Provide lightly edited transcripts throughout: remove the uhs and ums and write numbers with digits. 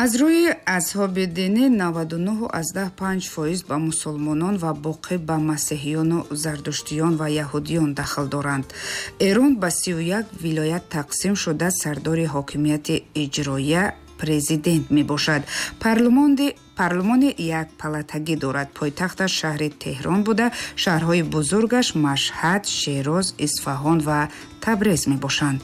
Аз рӯи азҳоби динӣ 99,5% ба мусулмонон ва боқӣ ба масеҳиёну зардуштиён ва яҳудиён дахл доранд. Эрон ба 31 вилоят тақсим шуда, сардори ҳокимияти иҷроия президент мебошад. Парлумони як палатагӣ дорад. Пойтахташ шаҳри Теҳрон буда, шаҳрҳои бузургаш Машҳад, Шероз, Исфаҳон ва Табрез мебошанд.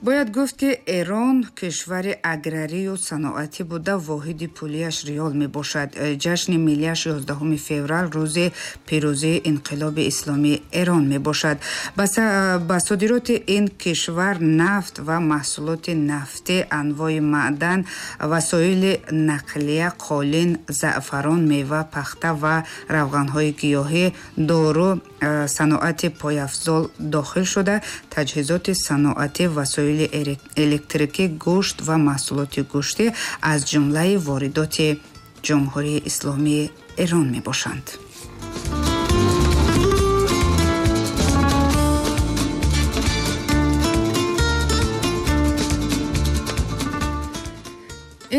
Бояд гуфт, ки Эрон кишвари аграрию саноатӣ буда, воҳиди пулияш риёл мебошад. Ҷашни миллияш 11 феврал, рӯзи пирӯзии инқилоби исломии Эрон мебошад. Ба содироти ин кишвар нафт ва маҳсулоти нафтӣ, анвои маъдан, васоили нақлия, қолин, заъфарон, мева, пахта ва равғанҳои гиёҳӣ, дору, саноати пойафзол дохил шуда, таҷҳизоти саноатӣ, васоили электрикӣ, гӯшт ва маҳсулоти гӯштӣ аз ҷумлаи воридоти Ҷумҳурии Исломии Эрон мебошанд.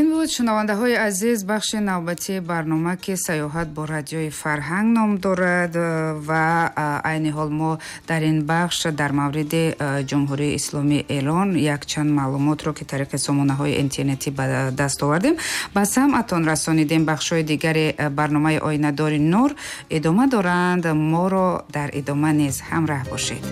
Ин буд, шунавандаҳои азиз, бахши навбатии барнома, ки «Саёҳат бо радиои Фарҳанг» ном дорад, ва айни ҳол мо дар ин бахш дар мавриди Ҷумҳурии Исломии Эрон якчанд маълумотро, ки тариқи сомонаҳои интернетӣ ба даст овардем, ба самъатон расонидем. Бахшҳои дигари барномаи «Оинадори нур» идома доранд. Моро дар идома низ ҳамраҳ бошед.